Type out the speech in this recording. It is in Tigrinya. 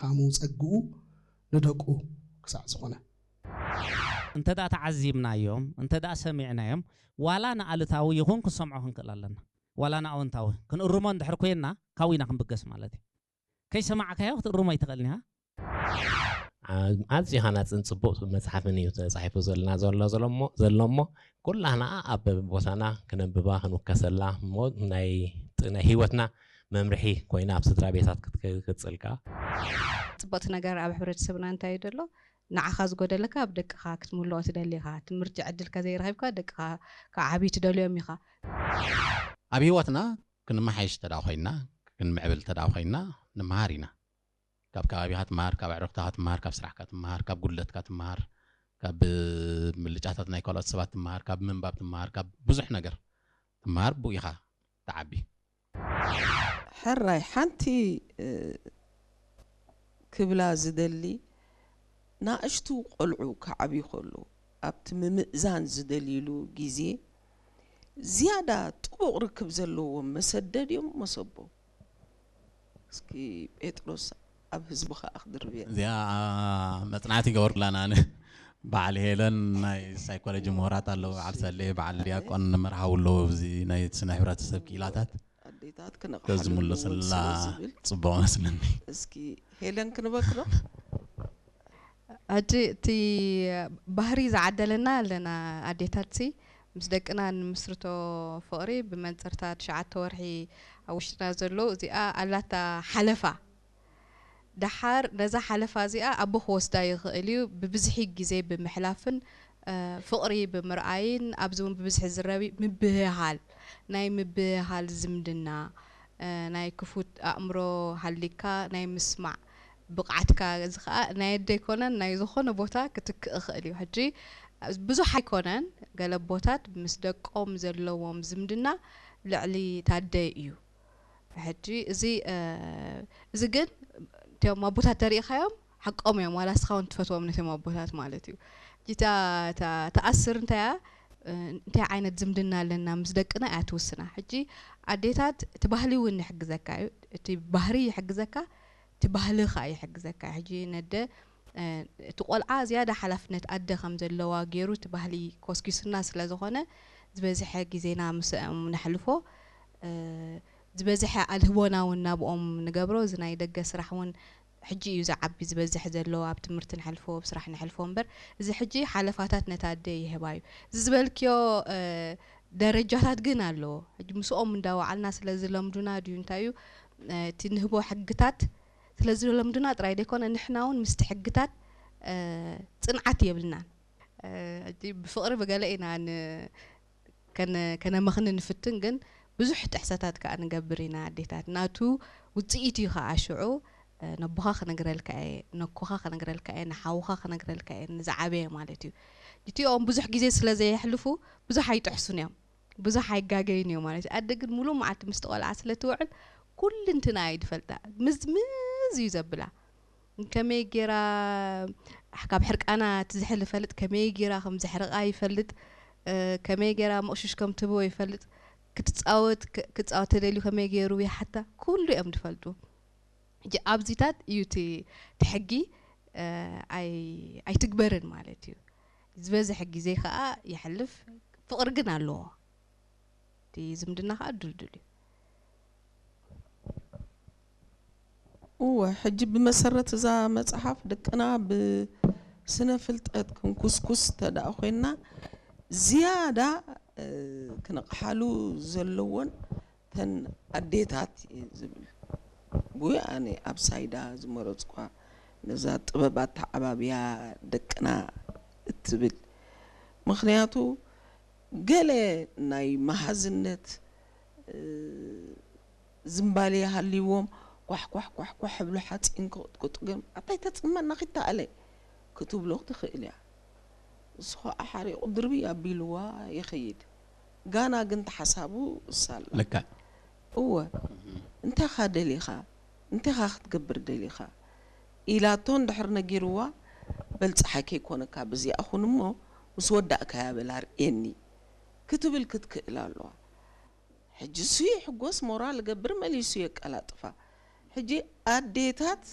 ጣዕሙ ጸግኡ ንደቁ ክሳዕ ዝኾነ። እንተ ደኣ ተዓዚብናዮም፣ እንተ ደኣ ሰሚዕናዮም፣ ዋላ ንኣሉታዊ ይኹን ክንሰምዖ ክንክእል ኣለና። ዋላ ንኣወንታዊ ክንእርሞ እንድሕር ኮይንና፣ ካብኡ ኢና ክንብገስ ማለት እዩ። ከይሰማዕካዮ ክትእርሞ ኣይትኽእልን ኢኻ። ዓ- ኣዝዩ ሃናፅን ፅቡቕ መፅሓፍን እዩ ተፃሒፉ ዘለና ዘሎ ዘሎ እሞ ዘሎ እሞ ኩላህና ኣብ ቦታና ክነንብባ ክንውከሰላ እሞ ናይ ጥ- ናይ ህይወትና መምርሒ ኮይና ኣብ ስድራ ቤታት ክትቅፅል ከዓ ፅቡቕቲ ነገር ኣብ ሕብረተሰብና እንታይ እዩ ዘሎ? ንዓኻ ዝጎደለካ ኣብ ደቅኻ ክትምልኦ ትደሊ ኢኻ። ትምህርቲ ዕድልካ ዘይረኺብካ ደቅኻ ክዓብዩ ትደልዮም ኢኻ። ኣብ ህይወትና ክንመሓይሽ ተዳ ኮይና ክንምዕብል ተዳ ኮይና ንምሃር ኢና። ካብ ከባቢኻ ትምሃር፣ ካብ ኣዕሩኽትኻ ትምሃር፣ ካብ ስራሕካ ትምሃር፣ ካብ ጉድለትካ ትምሃር፣ ካብ ምልጫታት ናይ ካልኦት ሰባት ትምሃር፣ ካብ ምንባብ ትምሃር፣ ካብ ብዙሕ ነገር ትምሃር፣ ብኡ ኢኻ ትዓቢ። ሕራይ ሓንቲ እ፣ ክብላ ዝደሊ፣ ናእሽቱ ቆልዑ ክዓብዩ ከለዉ ኣብቲ ምምእዛን ዝደልይሉ ግዜ ዝያዳ ጥቡቕ ርክብ ዘለዎም መሰደድ እዮም መሰቦም። እስኪ ጴጥሮስ ኣብ ህዝቢ ከዓ ክድርብያ እዚኣ መፅናዕቲ ይገበርኩላ ኣነ። በዓል ሄለን ናይ ሳይኮሎጂ ምሁራት ኣለዉ፣ በዓል ሰሌ፣ በዓል ዲያቆን መርሃዊ ኣለዉ ኣብዚ ናይ ስነ ሕብረተሰብ ክኢላታት። ኣዴታት ተዝምልስላ ክነቕሓሉ ዝብል ፅቡቕ መስለኒ። እስኪ ሄለን ክንበክሎ ሕጂ እቲ ባህሪ ዝዓደለና ኣለና ኣዴታት ሲ ምስ ደቅና ንምስርቶ ፍቕሪ ብመንፅርታ ትሽዓተ ወርሒ ኣብ ውሽጥና ዘሎ እዚኣ ኣላታ ሓለፋ። ደሓር ነዛ ሓለፋ እዚኣ ኣቦ ክወስዳ ይኽእል እዩ። ብብዝሒ ግዜ ብምሕላፍን እ፣ ፍቕሪ ብምርኣይን ኣብዚ እውን ብብዝሒ ዝረቢ ምብህሃል ናይ ምብህሃል ዝምድና እ፣ ናይ ክፉት ኣእምሮ ሃሊካ ናይ ምስማዕ ብቕዓትካ እዚ ከዓ ናይ ኣደ ኣይኮነን ናይ ዝኾነ ቦታ ክትክእ ይኽእል እዩ። ሕጂ ብዙሕ ኣይኮነን ገለ ኣቦታት ምስ ደቆም ዘለዎም ዝምድና ልዕሊ ታደ እዩ። ሕጂ እዚ እ፣ እዚ ግን እቶም ኣቦታት ተሪኢኻዮም ሓቆም እዮም ዋላ እስኻ እውን ትፈትዎም ነቶም ኣቦታት ማለት እዩ። ሕጂ እታ እታ ተኣስር እንታይ እያ እ፣ እንታይ ዓይነት ዝምድና ኣለና ምስ ደቅና እያ ትውስና። ሕጂ ኣዴታት እቲ ባህሊ እውን ይሕግዘካ እዩ፣ እቲ ባህሪ ይሕግዘካ፣ እቲ ባህሊ ከዓ ይሕግዘካ። ሕጂ ነደ እ፣ እቲ ቆልዓ ዝያዳ ሓላፍነት ኣደ ከም ዘለዋ ገይሩ እቲ ባህሊ ኮስኪሱና ስለ ዝኾነ ዝበዝሐ ግዜና ምስኦም ነሕልፎ እ፣ ዝበዝሐ ኣልህቦና እውን ናብኦም ንገብሮ። እዚ ናይ ደገ ስራሕ እውን ሕጂ እዩ ዝዓቢ ዝበዝሕ ዘሎ። ኣብ ትምህርቲ ንሕልፎ ኣብ ስራሕ ንሕልፎ እምበር እዚ ሕጂ ሓለፋታት ነታ ኣደ ይህባ እዩ። እዚ ዝበልክዮ እ፣ ደረጃታት ግን ኣለዎ። ሕጂ ምስኦም እንዳወዓልና ስለ ዝለምዱና ድዩ እንታይ እዩ እ፣ እቲ ንህቦ ሕግታት ስለ ዝለምዱና ጥራይ ዘይኮነ ንሕና እውን ምስቲ ሕግታት እ፣ ፅንዓት የብልናን። እ፣ ሕጂ ብፍቕሪ ብገለ ኢና ን- ከነ- ከነመኽኒ ንፍትን ግን ብዙሕ ጥሕሰታት ከዓ ንገብር ኢና ኣዴታት ናቱ ውፅኢት እዩ ከዓ ሽዑ እ፣ ነቦኻ ክነግረልካ እየ ነኮኻ ክነግረልካ እየ ንሓውኻ ክነግረልካ እየ ንዝዓበየ ማለት እዩ። እቲኦም ብዙሕ ግዜ ስለ ዘየሕልፉ ብዙሕ ኣይጥሕሱን እዮም ብዙሕ ኣይጋገዩን እዮም ማለት እዩ። ኣደ ግን ሙሉእ መዓልቲ ምስቲ ቆልዓ ስለ ትውዕል ኩልንትና እዩ ዝፈልጣ ምዝምዝ እዩ ዘብላ። ከመይ ጌራ ካብ ሕርቃና ትዝሕል ይፈልጥ፣ ከመይ ጌራ ከም ዘሕርቃ ይፈልጥ፣ እ፣ ከመይ ጌራ መቕሽሽ ከም ትህቦ ይፈልጥ፣ ክትጻወት ክ- ክጻወት ተደልዩ ከመይ ገይሩ ይሓታ፣ ኩሉ እዮም ዝፈልጡ። ሕጂ ኣብዚታት እዩ እቲ እቲ ሕጊ እ፣ ኣይ ኣይትግበርን ማለት እዩ። ዝበዝሕ ግዜ ከዓ ይሕልፍ፣ ፍቕሪ ግን ኣለዎ። እቲ ዝምድና ከዓ ድልድል እዩ። እወ ሕጂ ብመሰረት እዛ መፅሓፍ ደቅና ብስነ ፍልጠት ክንኩስኩስ ተደኣ ኮይንና ዝያዳ እ፣ ክነቕሓሉ ዘለዎን ተን ኣዴታት እየ ዝብል ጉይ ኣነ ኣብ ሳይዳ ዝመረፅኳ ነዛ ጥበብ ኣተዓባብያ ደቅና እትብል ምክንያቱ ገለ ናይ መሃዝነት እ፣ ዝምባሌ ሃልይዎም ኳሕ ኳሕ ኳሕ ኳሕ ብሉ ሓፂን ክቕጥቅጡ ግን ኣታይ ተፅመና ኪተኣለ ክትብሎ ትኽእል እያ። እሱ ከዓ ሓሪቑ ድርብይ ኣቢልዋ ይኸይድ። ጋና ግን ተሓሳቡ እሳላ ልክዕ እወ እንታኻ ደሊኻ እንታኻ ክትገብር ደሊኻ ኢላቶ እንድሕር ነጊርዋ በል ፀሓይ ከይኮነካ ብዚኣ ኹን እሞ ምስ ወዳእካያ በል ኣርእየኒ ክትብል ክትክእል ኣለዋ። ሕጂ እሱ ይሕጎስ ሞራል ገብር መሊሱ የቀላጥፋ። ሕጂ ኣዴታት